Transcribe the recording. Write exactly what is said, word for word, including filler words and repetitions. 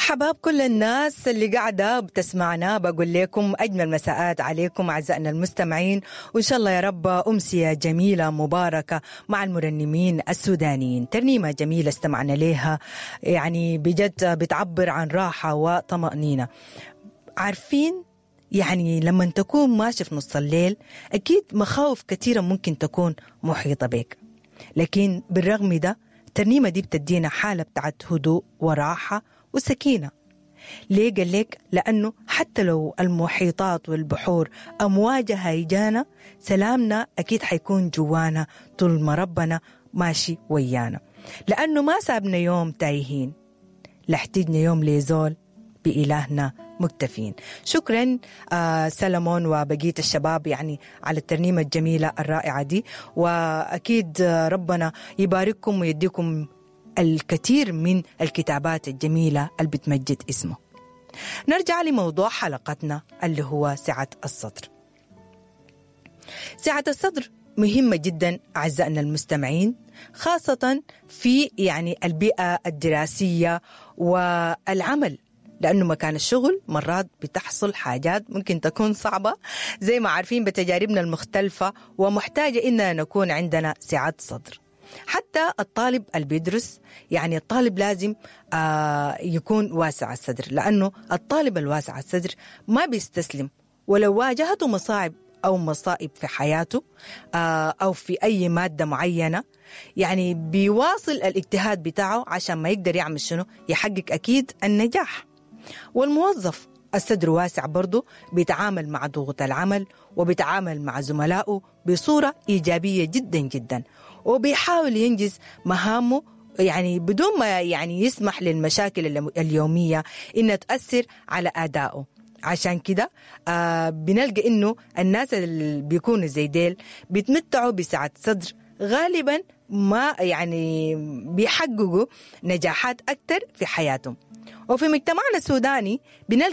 حباب كل الناس اللي قاعدة بتسمعنا، بقول لكم أجمل مساءات عليكم أعزائنا المستمعين، وإن شاء الله يا رب أمسية جميلة مباركة مع المرنمين السودانيين. ترنيمة جميلة استمعنا لها، يعني بجد بتعبر عن راحة وطمأنينة. عارفين يعني لما تكون ماشي في نص الليل أكيد مخاوف كثيرة ممكن تكون محيطة بك، لكن بالرغم ده الترنيمة دي بتدينا حالة بتاعت هدوء وراحة وسكينة. ليه قال لك؟ لأنه حتى لو المحيطات والبحور أمواجها هيجانا، سلامنا أكيد حيكون جوانا طول ما ربنا ماشي ويانا، لأنه ما سابنا يوم تايهين، لا احتجنا يوم لزول، بإلهنا مكتفين. شكرا آه سلمون وبقية الشباب يعني على الترنيمة الجميلة الرائعة دي، وأكيد ربنا يبارككم ويديكم الكثير من الكتابات الجميلة اللي بتمجد اسمه. نرجع لموضوع حلقتنا اللي هو سعة الصدر. سعة الصدر مهمة جدا أعزائنا المستمعين، خاصة في يعني البيئة الدراسية والعمل، لأنه مكان الشغل مرات بتحصل حاجات ممكن تكون صعبة زي ما عارفين بتجاربنا المختلفة، ومحتاجة إننا نكون عندنا سعة صدر. حتى الطالب اللي بيدرس، يعني الطالب لازم آه يكون واسع الصدر، لأنه الطالب الواسع الصدر ما بيستسلم ولو واجهته مصاعب أو مصائب في حياته آه أو في أي مادة معينة، يعني بيواصل الاجتهاد بتاعه عشان ما يقدر يعمل شنو، يحقق أكيد النجاح. والموظف الصدر واسع برضه بيتعامل مع ضغوط العمل وبيتعامل مع زملائه بصورة إيجابية جدا جدا، وبيحاول ينجز مهامه يعني بدون ما يعني يسمح للمشاكل اليومية إنها تأثر على أدائه. عشان كده آه بنلقى إنه الناس اللي بيكونوا زي ديل بيتمتعوا بسعة صدر، غالبا ما يعني بيحققوا نجاحات أكتر في حياتهم. وفي مجتمعنا السوداني بنلقى